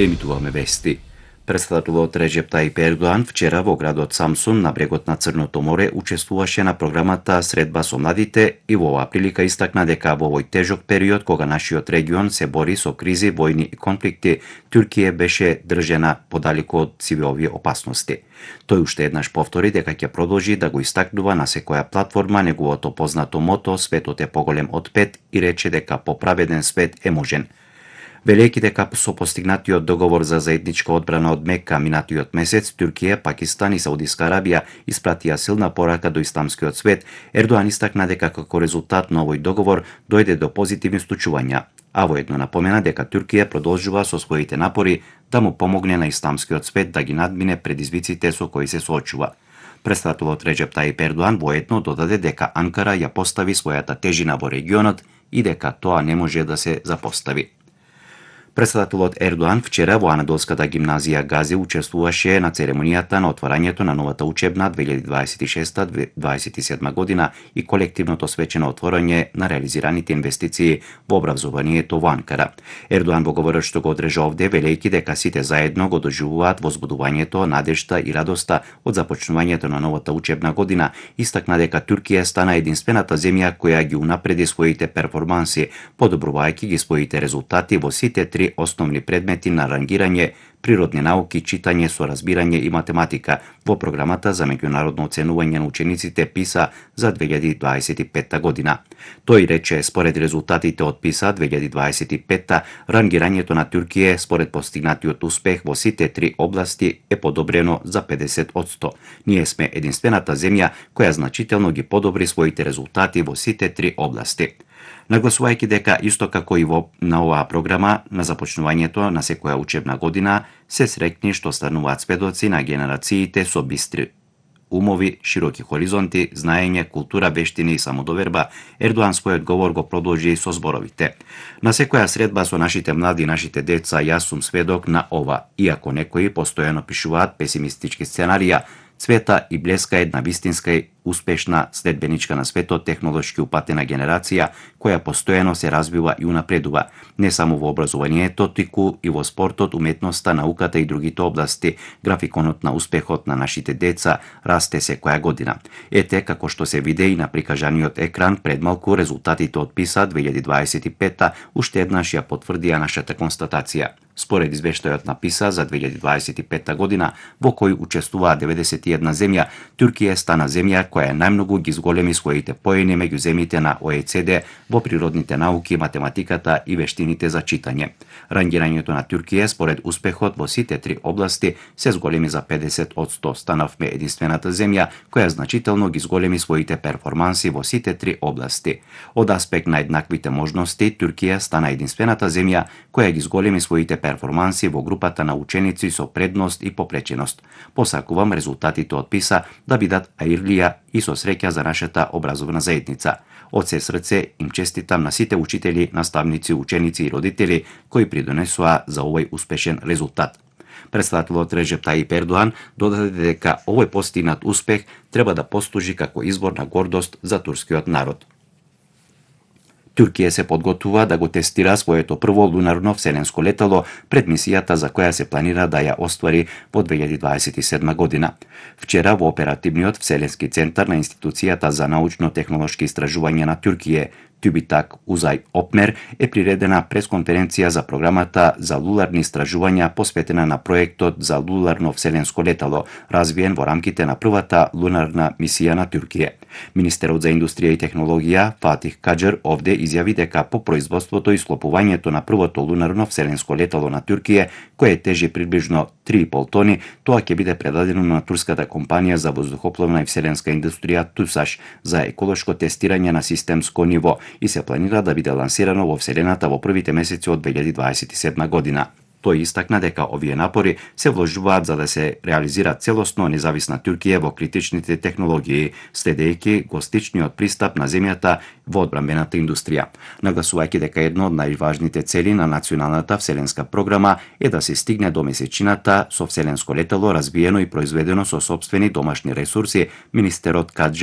Емитуваме вести. Председателот Реджеп Тајип Ердоан вчера во градот Самсун на брегот на Црното море учествуваше на програмата Средба со младите и во оваа прилика истакна дека во овој тежок период кога нашиот регион се бори со кризи, војни и конфликти, Туркија беше држена подалеку од сиве овие опасности. Тој уште еднаш повтори дека ќе продолжи да го истакнува на секоја платформа неговото познато мото "Светот е поголем од 5" и рече дека поправеден свет е можен. Велејќи дека со постигнатиот договор за заедничка одбрана од Мека минатиот месец, Туркија, Пакистан и Саудиска Арабија испратија силна порака до исламскиот свет, Ердоан истакна дека како резултат на овој договор дојде до позитивни случувања, а воедно напомена дека Туркија продолжува со своите напори да му помогне на исламскиот свет да ги надмине предизвиците со кои се соочува. Председателот Реджеп Тајип Ердоан воедно додаде дека Анкара ја постави својата тежина во регионот и дека тоа не може да се запостави. Председателот Ердоан вчера во Анадолската гимназија Гази учествуваше на церемонијата на отварањето на новата учебна 2026-2027 година и колективното свечено отворање на реализираните инвестиции во образованието во Анкара. Ердоан во говорот што го одржа овде, велејќи дека сите заедно го доживуваат возбудувањето, надежта и радоста од започнувањето на новата учебна година, истакна дека Туркија стана единствената земја која ги унапреди своите перформанси, подобрувајќи ги своите резултати во сите три основни предмети на рангирање, природни науки, читање, соразбирање и математика во програмата за меѓународно оценување на учениците ПИСА за 2025 година. Тој рече, според резултатите од ПИСА 2025, рангирањето на Туркија според постигнатиот успех во сите три области е подобрено за 50%. Ние сме единствената земја која значително ги подобри своите резултати во сите три области. Нагласувајќи дека исто како и на оваа програма на започнувањето на секоја учебна година се среќни што стануваат сведоци на генерациите со бистри умови, широки хоризонти, знаење, култура, вештини и самодоверба, Ердоан својот говор го продолжи со зборовите. На секоја средба со нашите млади и нашите деца јас сум сведок на ова, иако некои постојано пишуваат песимистички сценарија, цвета и блеска една вистинска и успешна следбеничка на светот технолошки упатена генерација која постојано се развива и унапредува, не само во образованието, туку и во спортот, уметноста, науката и другите области. Графиконот на успехот на нашите деца расте секоја година. Ете како што се виде и на прикажаниот екран пред малку, резултатите од ПИСА 2025 уште еднаш ја потврдија нашата констатација. Според извештајот на ПИСА за 2025 година, во кој учествуваа 91 земја, Туркија стана земја која најмногу ги зголеми своите поени меѓу земјите на ОЕЦД во природните науки, математиката и вештините за читање. Рангирањето на Туркија според успехот во сите три области се зголеми за 50%. Станавме единствената земја која значително ги зголеми своите перформанси во сите три области. Од аспект на еднаквите можности, Туркија стана единствената земја која ги зголеми своите перформанси во групата на ученици со предност и попреченост. Посакувам резултатите од ПИСА да бидат аирлија и со среќа за нашата образовна заедница. Од се срце им честитам на сите учители, наставници, ученици и родители кои придонесоа за овој успешен резултат. Председателот Реджеп Тајип Ердоан додаде дека овој постигнат успех треба да послужи како извор на гордост за турскиот народ. Туркија се подготвува да го тестира своето прво лунарно вселенско летало пред мисијата за која се планира да ја оствари во 2027 година. Вчера во оперативниот вселенски центар на институцијата за научно-технолошки истражувања на Туркија, Тюбитак Узај Опмер, е приредена пресконференција за програмата за лунарни истражувања посветена на проектот за лунарно вселенско летало, развиен во рамките на првата лунарна мисија на Туркија. Министерот за индустрија и технологија Фатих Каџер овде изјави дека по производството и склопувањето на првото лунарно вселенско летало на Туркија, кое тежи приближно 3,5 тони, тоа ќе биде предадено на турската компанија за воздухопловна и вселенска индустрија ТУСАШ за еколошко тестирање на системско ниво и се планира да биде лансирано во Вселената во првите месеци од 2027 година. Тој истакна дека овие напори се вложуваат за да се реализира целосно независна Туркија во критичните технологии, следејќи гостичниот пристап на земјата во одбранбената индустрија. Нагласувајќи дека едно од најважните цели на националната вселенска програма е да се стигне до месечината со вселенско летало развиено и произведено со сопствени домашни ресурси, министерот Каџер